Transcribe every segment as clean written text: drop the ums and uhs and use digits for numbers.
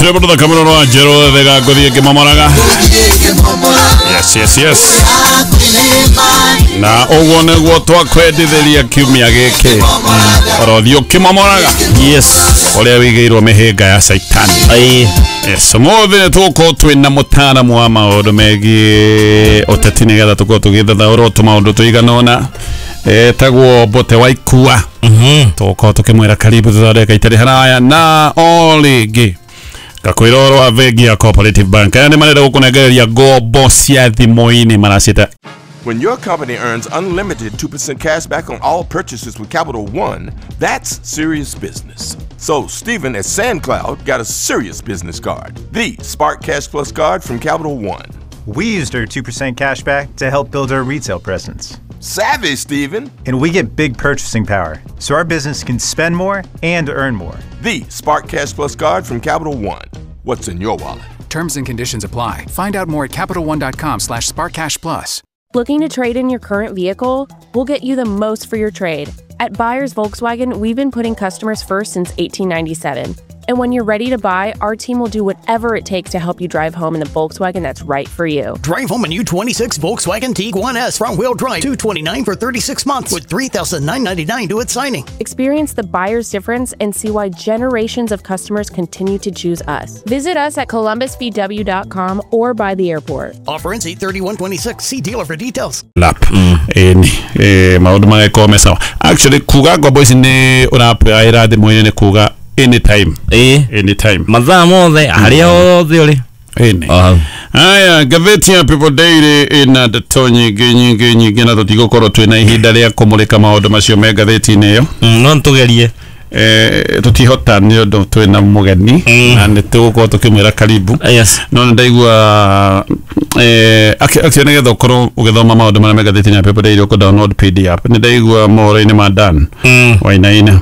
Rwĩmbo rũthaka mũno rwa Njerũ thega ngũthiĩ ngĩmomoraga. Yes, yes, yes. Na ũguo nĩguo twakwendithĩria kiumia gĩkĩ orothiĩ ũkĩmomoraga. Yes. Ũrĩa wĩigĩirwo mĩhĩnga ya caitani. Ai. Yes, ũmũthĩ nĩ tũgũkorwo twĩna mũtaaramu wa maũndũ megiĩ ũteti nĩgetha tũkorwo tũgĩthathaũra tũmaũndũ tũigana ũna etagwo Mbote wa Ikua. Tũgũkorwo tũkĩmwĩra karibu tũthondeka itarĩ haraya na o rĩngĩ ngakwĩra ũhoro wa bengi ya Cooperative Bank aya nĩ marenda gũkũnengereria ngombo cia thimũ-inĩ maracita. When your company earns unlimited 2% cash back on all purchases with Capital One, that's serious business. So Steven at SandCloud got a serious business card, the Spark Cash Plus card from Capital One. We used our 2% cash back to help build our retail presence. Savvy, Steven. And we get big purchasing power, so our business can spend more and earn more. The Spark Cash Plus card from Capital One. What's in your wallet? Terms and conditions apply. Find out more at CapitalOne.com/SparkCashPlus. Looking to trade in your current vehicle? We'll get you the most for your trade. At Buyers Volkswagen, we've been putting customers first since 1897. And when you're ready to buy, our team will do whatever it takes to help you drive home in the Volkswagen that's right for you. Drive home a new 26 Volkswagen Tiguan S front-wheel drive, $229 for 36 months with $3,999 due at signing. Experience the buyer's difference and see why generations of customers continue to choose us. Visit us at columbusvw.com or by the airport. Offer ends 8/31/26. See dealer for details. Lap. Ĩni maũndũ magĩkorwo me sawa. Actually kuga ngombo ici nĩ ũrapplyĩra thimũ-inĩ nĩ kuga anytime. Anytime. Mathaa mothe harĩa hothe ũrĩ. Ĩni. Aya, ngathĩti ya People Daily ĩna ndeto nyingĩ nyingĩ nyingĩ na tũtigũkorwo twĩna ihinda rĩa kũmũrĩka maũndũ macio me ngathĩti-inĩ ĩyo. No nĩtũgerie. Tũtihota nĩ ũndũ twĩna mũgeni na nĩ tũgũkorwo tũkĩmwĩra karibu. Yes. No nĩ ndaigua actually nĩgetha ũkorwo ũgĩthoma maũndũ marĩa me ngathĩti-inĩ ya People Daily ũkũ download PDF. Nĩ ndaigua mohoro-inĩ ma Dan Wainaina.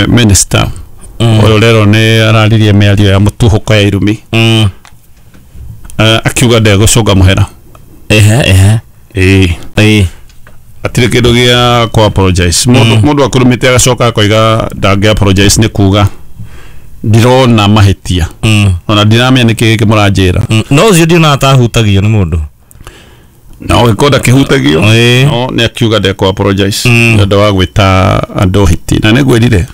Minister ũyũ rero nĩ araririe mĩario ya mũtuhũko ya irumi. Akiuga ndegũcũnga mũhera. Ehe. Ĩĩ. Atirĩ kĩndũ gĩa kũ apologize. Mũndũ akũrumĩte agacoka akoiga ndangĩ apologize nĩ kuga ndirona mahĩtia. Ona ndiramenya nĩkĩ gĩkĩ mũranjĩra. No ũcio ndionaga ta ahutagio nĩ mũndũ. No gĩkorwo ndakĩhutagio. No nĩ akiuga ndekũ apologize nĩ ũndũ wa gwĩta andũ hiti. Na nĩngwĩrire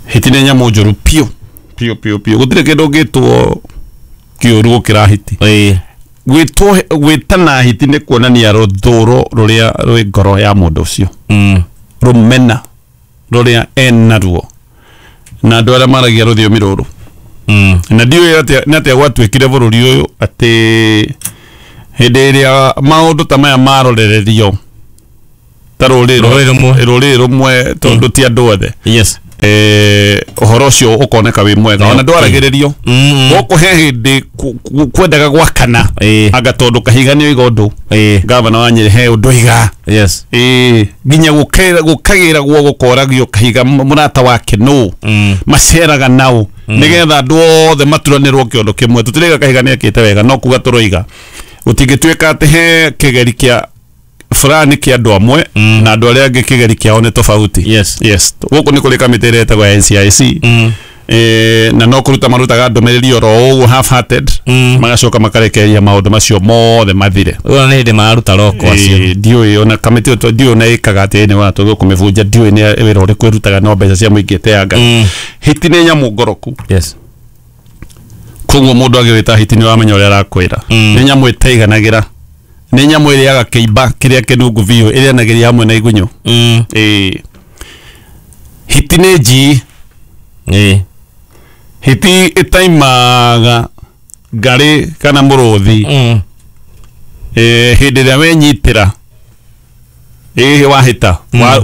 hiti nĩ nyamũ njũru piũ piũ piũ piũ. Gũtirĩ kĩndũ ũngĩtwo kĩũru gũkĩra hiti. Gwĩtwo gwĩtana hiti nĩ kuonania rũthũro rũrĩa rwĩ ngoro ya mũndũ ũcio. Rũmena rũrĩa enaruo na andũ arĩa maragia rũthiomi rũrũ. Na ndiũĩ nĩ atĩa gwatuĩkire bũrũri ũyũ atĩ hĩndĩ ĩrĩa maũndũ ta maya marorererio ta rũrĩrĩ rũmwe tondũ ti andũ othe. Yes. Ũhoro ũcio ũkoneka wĩ mwega ona ndwaragĩrĩrio gũkũ he hĩndĩ kwendaga gwakana anga tondũ Kahiga nĩ oiga ũndũ gavana wa Nyĩrĩ he ũndũ oiga. Yes. Nginya gũkagĩragwo gũkoragio Kahiga mũrata wake nũ maceraga nao nĩgetha andũ othe maturanĩrwo kĩondo kĩmwe. Tũtiraiga Kahiga nĩ ekĩte wega no kuga tũroiga gũtingĩtuĩka atĩ he kĩgeri kĩa fulani kĩa andũ amwe na andũ arĩa angĩ kĩgeri kĩao nĩ tofauti. Yes. Yes. Gũkũ nĩ kũrĩ kamĩtĩ ĩrĩa ĩtagwo ya NCIC. Na no kũruta marutaga ndũmĩrĩri oro ũguo half hearted magacoka makarekereria maũndũ macio mothe mathire. Ũguo nĩ hĩndĩ mararuta roko acio. Ndiũĩ ona kamĩtĩ ĩyo ndiũĩ ona ĩkaga atĩa nĩ wa tũgũkũmĩbunja ndiũĩ nĩ wĩra ũrĩkũ ĩrutaga no mbeca cia mũingĩ ĩteanga. Hiti nĩ nyamũ ngoroku. Yes. Koguo mũndũ agĩwĩta hiti nĩ ũramenya ũrĩa arakwĩra. Nĩ nyamũ ĩtaiganagĩra. Nĩ nyamũ ĩrĩaga kĩimba kĩrĩa kĩnungu biũ ĩrĩanagĩria hamwe na igunyũ. Hiti nĩ njii. Hiti ĩtaimaga ngarĩ kana mũrũthi. Hĩndĩ ĩrĩa wenyitĩra wahĩta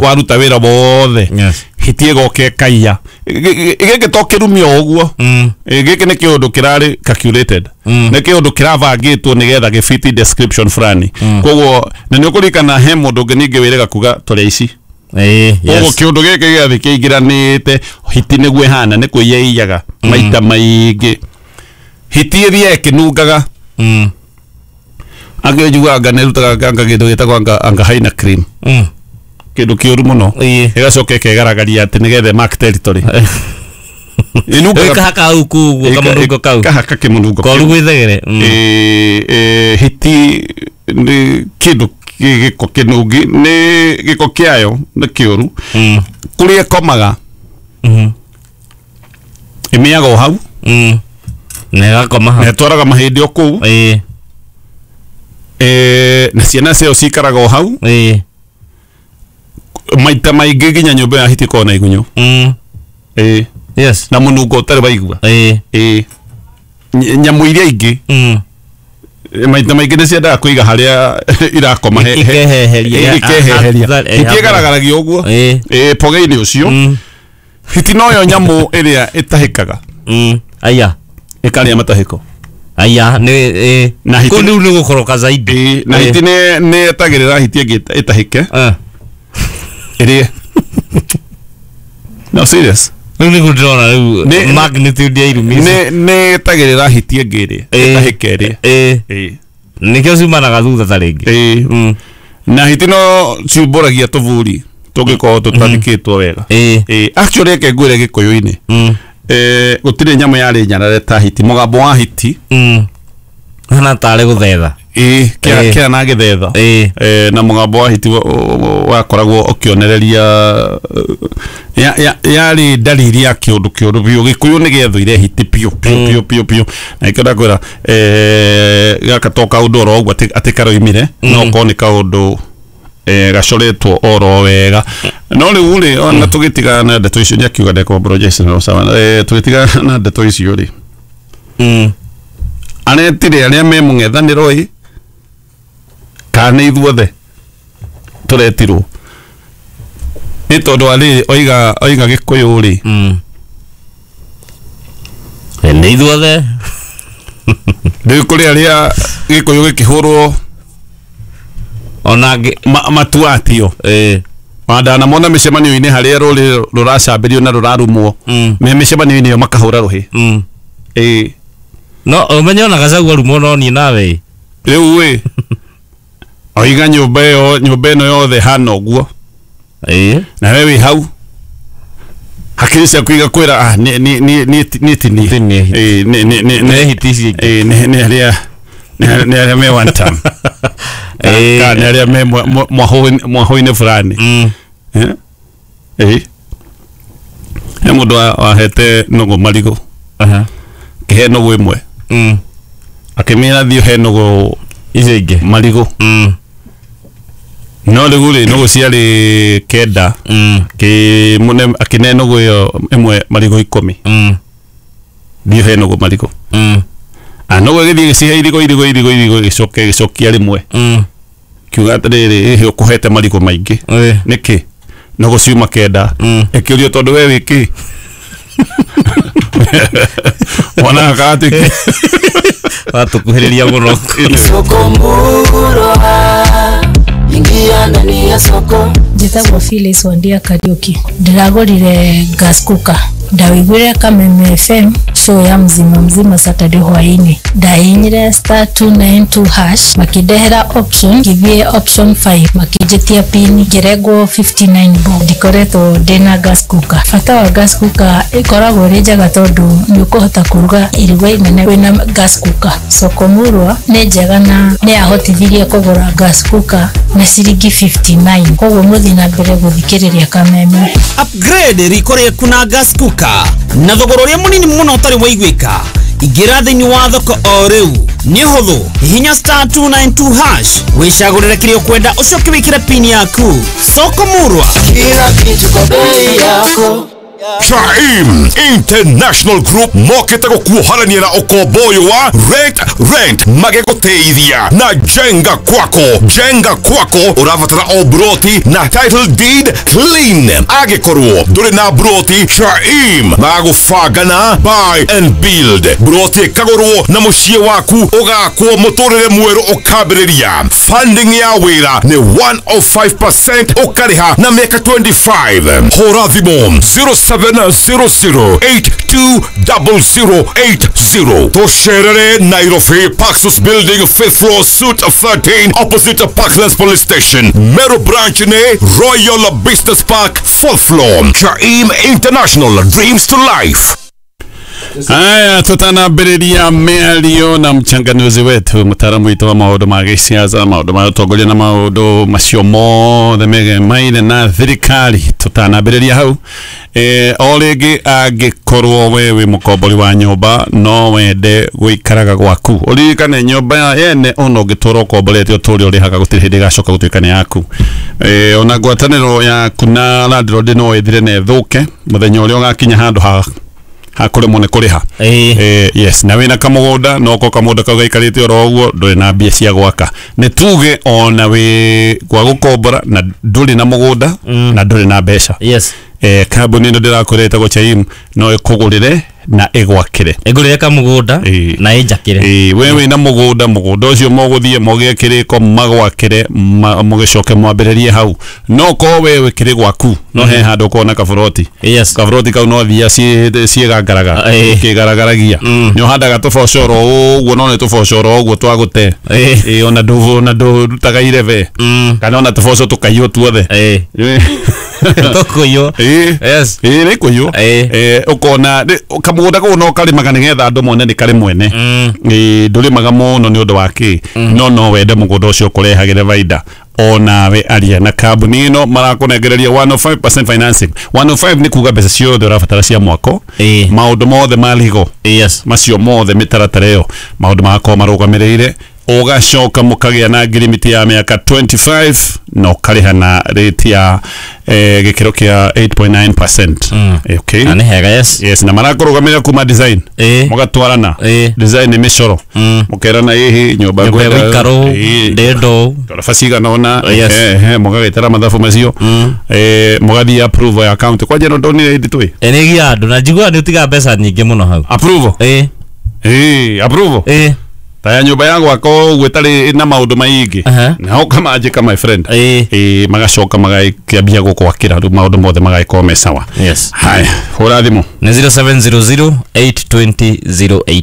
waruta wĩra wothe. Hiti ĩgoka ĩkaiya. Gĩkĩ to kĩrumi o ũguo. Gĩkĩ nĩ kĩũndũ kĩrarĩ calculated. Nĩ kĩũndũ kĩrabangĩtwo nĩgetha gĩfiti description fulani. Koguo na nĩ ũkũririkana he mũndũ ũngĩ ningĩ wĩrĩga kuga tũrĩ aici. Koguo kĩũndũ gĩkĩ gĩothe kĩingĩranĩte hiti nĩguo ĩhana nĩ kũiya ĩiyaga maita maingĩ. Hiti ĩthiaga ĩkĩnungaga. Angĩ njugaga anga nĩ ĩrutaga anga kĩndũ gĩtagwo anga haina cream. Kĩndũ kĩũru mũno. Ĩgacoka ĩkegaragaria atĩ nĩgetha mark territory. Ĩnungaga Ĩkahaka hau kũu ũguo kamũnungo kau. Kahaka kĩmũnungo Koru kĩu. gwĩthegere. Hiti nĩ kĩndũ kĩ gĩko kĩnungi, nĩ gĩko kĩayo nĩ kĩũru. Kũrĩa ĩkomaga, ĩmĩaga o hau. Na ĩgakoma hau. Na ĩtwaraga mahĩndĩ o kũu. Na ciana ciayo cikaraga o hau. Maita maingĩ nginya nyũmba ya hiti ĩkoragwo na igunyũ. Yes. Na mũnungo ũtarĩ waigua. Nyamũ iria ingĩ maita maingĩ nĩ ciendaga kũiga harĩa irakoma Ikeheheria. Ikeheheria. Hiti ĩgaragaragia ũguo. Pogeinĩ ũcio. Hiti noyo nyamũ ĩrĩa ĩtahĩkaga. Aya. Ĩkarĩa matahĩko. Aya, nĩ Na hiti kũu rĩu nĩ gũkoroka zaidi. Na hiti nĩ ĩtagĩrĩra hiti ĩngĩ ĩtahĩke. Ĩrĩe. No serious. Rĩu nĩguo ndĩrona rĩu magnitude ya irumi ici. Nĩ ĩtagĩrĩra hiti ĩngĩ ĩrĩe. Ĩtahĩke ĩrĩe. Nĩkĩo ciumanaga thutha ta rĩngĩ. Na hiti no ciumbũragia tũburi tũngĩkorwo tũtathikĩtwo wega. Actually reke ngwĩre gĩkũyũ-inĩ. Gũtirĩ nyamũ yarĩ nyarare ta hiti. Mũgambo wa hiti. Hana tarĩ gũthetha. Kĩa na gĩthetha. Na mũgambo wa hiti wakoragwo ũkĩonereria yarĩ ndariri ya kĩũndũ kĩũru biũ. Gĩkũyũ nĩ gĩethũire hiti biũ biũ biũ biũ biũ. Na nĩkĩo ndakwĩra gaka to kaũndũ oro ũguo atĩ karoimire, no korwo nĩ kaũndũ gacoretwo oro wega. No rĩu rĩ, ona tũgĩtigana na ndeto icio, nĩakiuga ndekwa apologize na sawa. Tũgĩtigana na ndeto icio rĩ, aretire arĩa me mũng'ethanĩro ĩ, kana nĩ ithuothe tũretirwo? Nĩ tondũ arĩ oiga gĩkũyũ rĩ, Nĩ ithuothe. Rĩu kũrĩ arĩa gĩkũyũ gĩkĩhũrwo ona matuatio. Wandanamona mĩcemanio-inĩ harĩa rũrĩrĩ rũracambĩrio na rũrarumwo, me mĩcemanio-inĩ ĩyo makahũra rũhĩ. No ũmenye ona Gachagua arumwo no niĩ nawe. Rĩu ĩ, oiga nyũmba ĩyo, nyũmba ĩno yothe hana ũguo. Na we wĩ hau hakiri ciaku igakwĩra nĩ tinie. Nĩ hiti ici ingĩ. Nĩ arĩa nĩ arĩa me one term. Kana nĩ arĩa me mwahũ-inĩ fulani. He mũndũ wahete nũgũ marigũ. Kĩhe nũgũ ĩmwe. Akĩmĩra thiĩ ũhe nũgũ icio ingĩ marigũ. No rĩu rĩ, nũgũ ciarĩ 9. Akĩne nũgũ ĩyo ĩmwe marigũ 10. Thiĩ ũhe nũgũ marigũ. Nũgũ ĩgĩthiĩ ĩgĩcihe irigũ irigũ irigũ irigũ, ĩgĩcoka ĩgĩcokia rĩmwe. Kiuga atĩrĩrĩ, ĩhĩ ũkũhete marigũ maingĩ. Nĩkĩ? Nũgũ ciuma 9. Ĩkĩũrio tondũ we wĩ kĩ? Wonaga ka atĩ Watũkuhĩrĩria mũno. Soko murwa, ingia ndani ya soko. Njĩtagwo Phyllis Wandia Kariũki. Ndĩragũrire gas cooker. Ndawĩiguire Kameme FM show ya mzima mzima Saturday hwainĩ. Ndahihinyire star 292 hash, makĩndehera option, ngĩthiĩ option 5, makĩnjĩtia pin, ngĩrengwo 59 bob. Ndikoretwo ndĩna gas cooker. Bata wa gas cooker ĩkoragwo ĩrĩ njega tondũ nĩ ũkũhota kũruga iruga inene wĩna gas cooker. Soko Murwa nĩ njega na nĩ yahotithirie kũgũra gas cooker na ciringi 59. Koguo mũthiĩ na mbere gũthikĩrĩria Kameme. Upgrade riko rĩaku na gas cooker na thogora ũrĩa mũnini mũno ũtarĩ waiguĩka. Ingĩra thĩinĩ wa thoko o rĩu. Nĩ ũhũthũ, hihinya star 292 hash, wĩcagũrĩre kĩrĩa ũkwenda, ũcoke wĩkĩre pin yaku. Soko Murwa, kila kitu kwa bei yako. Chaim International Group mokĩte gũkuohorania na ũkombo ũyũ wa rent rent magĩgũteithia na jenga kwako. Jenga kwako ũrabatara o broti na title deed clean. Angĩkorwo ndũrĩ na broti, Chaim magũbanga na buy and build. Broti ĩkagũrwo na mũciĩ waku ũgakwo, mũtũrĩre mwerũ ũkambĩrĩria. Funding ya wĩra nĩ 105%, ũkarĩha na mĩaka 25. Hũra thimũ 0700820080. Tũcerere Nairobi, Paxos Building, 5th floor, Suite 13, opposite Parklands Police Station. Meru Branch nĩ Royal Business Park, 4th floor. Chaim International, dreams to life. Haya, tutanambĩrĩria mĩario na mchanganuzi wetu mũtaaramu witũ wa maũndũ ma gĩciaca, maũndũ ma ũtongoria na maũndũ macio mothe megemaine na thirikari. Tũtanambĩrĩria hau o rĩngĩ, angĩkorwo we wĩ mũkombori wa nyũmba no wende gũikaraga gwaku, ũririkane nyũmba yene ona ũngĩtũra ũkomborete ũtũre ũrĩhaga gũtirĩ hĩndĩ ĩgacoka gũtuĩka nĩ yaku. Ona ngwatanĩro yaku na landlord no ĩthire na ĩthũke mũthenya ũrĩa ũgakinya handũ ha hakũremwo nĩ kũrĩha. Yes, na wĩna kamũgũnda no ko kamũgũnda kau gaikarĩte oro ũguo, ndũrĩ na mbia cia gwaka, nĩ tuge ona wĩ gwa gũkombora na ndũrĩ na mũgũnda na ndũrĩ na mbeca. Yes. Kambuni ĩno ndĩrakwĩra ĩtagwo Chaim no ĩkũgũrĩre na ĩgwakĩre, ĩngũrĩre kamũgũnda na ĩnjakĩre. We wĩna mũgũnda, mũgũnda ũcio mũgũthiĩ mũgĩe kĩrĩko magwakĩre, mũgĩcoke mwambĩrĩrie hau. No korwo we wĩkĩrĩ gwaku no he handũ ũkona kaburoti. Yes. Kaburoti kau no thia ciĩgangaraga kĩgaragaragia, nĩ ũhandaga tũbocoro ũguo, no nĩ tũbocoro ũguo twagũte, ona ndũrutaga irebe kana ona tũboco tũkaiywo tuothe. Tũkũiywo. Yes. Nĩ kũiywo. Ũkona kamũgũnda kau no karĩmaga nĩgetha andũ mone nĩ karĩ mwene. Ndũrĩmaga mũno nĩ ũndũ wa kĩ, no wende mũgũnda ũcio ũkũrehagĩre baida. Onawe aria na kambuni ĩno marakũnengereria 105% financing. 105 nĩ kuga mbeca ciothe ũrabatara cia mwako, maũndũ mothe ma legal. Yes. Macio mothe mĩtaratara ĩyo maũndũ magakorwo marũgamĩrĩire, ũgacoka mũkagĩa na ngirimiti ya mĩaka 25 na ũkarĩha na rate ya gĩkĩro kĩa 8.9%. Okay. Na nĩ hega. Yes. Yes, na marakũrũgamĩrĩra kuma design. Mũgatwarana. Design nĩ mĩcoro. Mũkerana ĩhĩ nyũmba ngwenda gũikarwo ndendo ngoroba cigana ũna. Mũgagĩtara mathabu macio, mũgathiĩ approval ya county. Kwanja no ndonire hĩndĩ twĩ nĩ gia andũ na njiguaga nĩ ũtigaga mbeca nyingĩ mũno hau. Approval. Approval. Ta nyũmba ya gwaka ũguo ĩtarĩ na maũndũ maingĩ na ũkamanjĩka my friend. Magacoka magakĩambia gũkwakĩra rĩu maũndũ mothe magagĩkorwo me sawa. Yes. Haya, hũra thimũ nĩ 0700 820 08.